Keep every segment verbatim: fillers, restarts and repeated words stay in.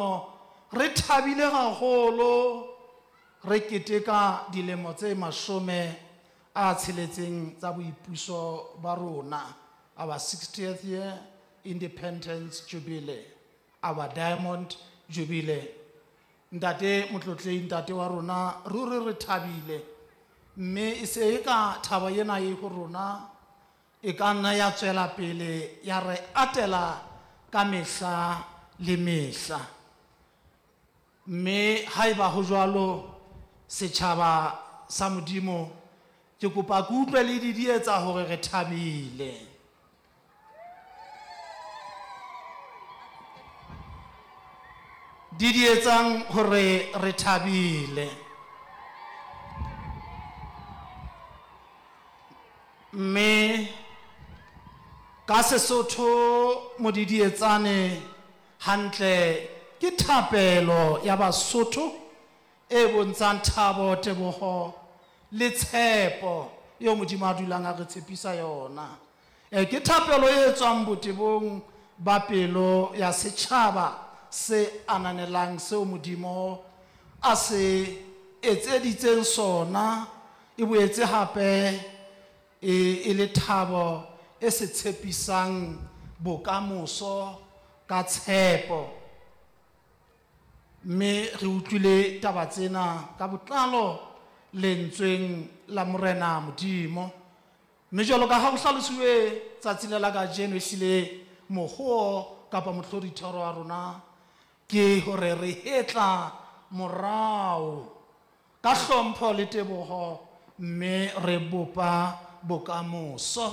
Re thabile haholo re keteka dilemo tse mashome a tsheletseng tsa boipuso ba rona, our sixtieth year independence jubilee, our diamond jubilee. Ntate Motlotlehi, ntate wa rona, ruri re thabile, mme e se e ka thabo ena e ho rona e ka nna ya tswela pele ya re atela ka mehla le mehla. Mme haeba ho jwalo, setjhaba sa Modimo, ke kopa ke utlwe le didietsa hore re thabile. Didietsang hore re thabile. Mme ka Sesotho modidietsane hantle ke thapelo ya Basotho e bontshang thabo, teboho le tshepo eo Modimo a dulang a re tshepisa yona. E, ke thapelo e tswang botebong ba pelo ya setjhaba se ananelang seo Modimo a se etseditseng sona, e boetse hape e, e le thabo e se tshepisang bokamoso ka tshepo. Mme re utlwile taba tsena ka botlalo lentsweng la Morena Modimo. Mme jwalo ka ha ho hlalosiwe tsatsi le la kajeno, ehlile mohoo kapa mohlodithero wa rona ke hore re hetla morao ka hlompho le teboho, mme re bopa bokamoso,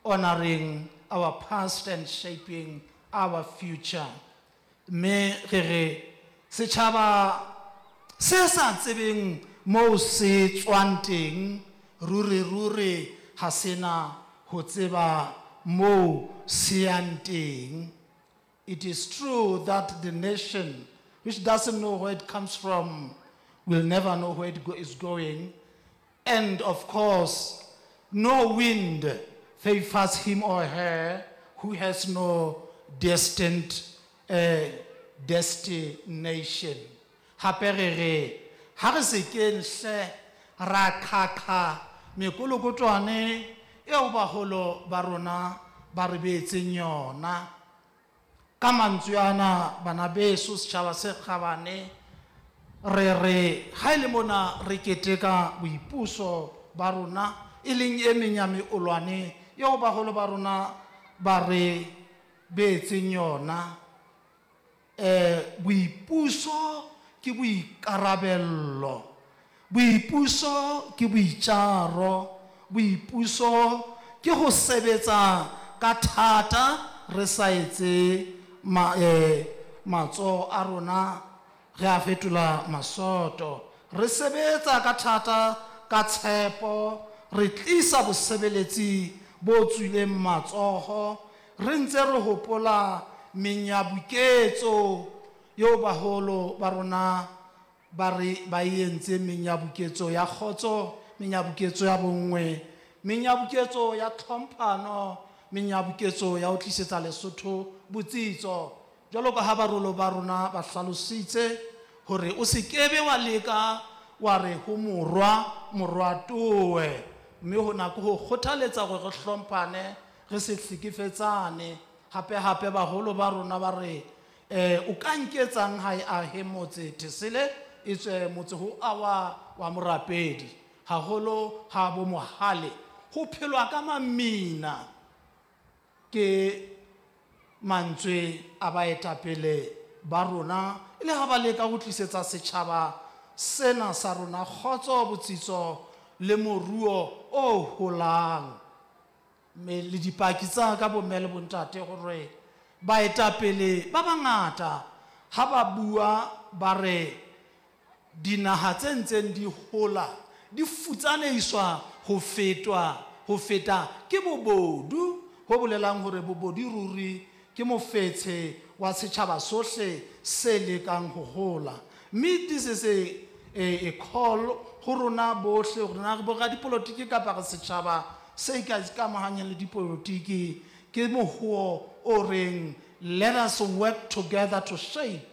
honoring our past and shaping our future. Mme re re setjhaba se sa tsebeng moo se tswang teng, ruri ruri ha sena ho tseba moo se yang teng. It is true that the nation which doesn't know where it comes from will never know where it go-, is going. And of course, no wind favors him or her who has no destined, uh, destination. Hape re re, ha re se keng hle ra khakha mekolokotwane eo baholo ba rona ba re beetseng yona. Ka mantswe ana, bana beso, setjhaba se kgabane, re re ha e le mona re keteka boipuso ba rona, e leng e meng ya meolwane eo baholo ba rona ba re beetseng yona. Eh, boipuso ke boikarabello, boipuso ke boitjaro, boipuso ke ho sebetsa ka thata re sa etse ma-, eh, matsoho a rona re a fetola masoto. Re sebetsa ka thata ka tshepo, re tlisa bosebeletsi bo tswileng matsoho, re ntse re hopola menyabuketso eo baholo ba rona ba re ba e entse, menyabuketso ya kgotso, menyabuketso ya bonngwe, menyabuketso ya tlhomphano, menyabuketso ya ho tlisetsa Lesotho botsitso. Jwalo ka ha barolo ba rona ba hlalositse hore o se kebe wa leka wa re ho morwa, morwa towe, mme hona ke ho kgothaletsa hore re hlomphane, re se hlekefetsane. Hape hape baholo ba rona ba re, eh, o ka nketsang ha e ahe motse Thesele, e tswe motse ho awa wa morapedi, haholo ha bo mohale, ho phelwa ka mamina. Ke mantswe a baetapele ba rona, e le ha ba leka ho tlisetsa setjhaba sena sa rona kgotso, botsitso le moruo o holang. Mme le dipaki tsa ka bomme le bontate hore baetapele ba bangata ha ba bua ba re dinaha tse ntseng di hola di futsaneiswa ho fetwa, ho feta ke bobodu, ho bolelang hore bobodu ruri ke mofetshe wa setjhaba sohle se lekang ho hola. Mme this is a, a, a call ho rona bohle, hore na re bo radipolotiki kapa re setjhaba se ikamahanyang le dipolotiki, ke mohoo o reng let us work together to shape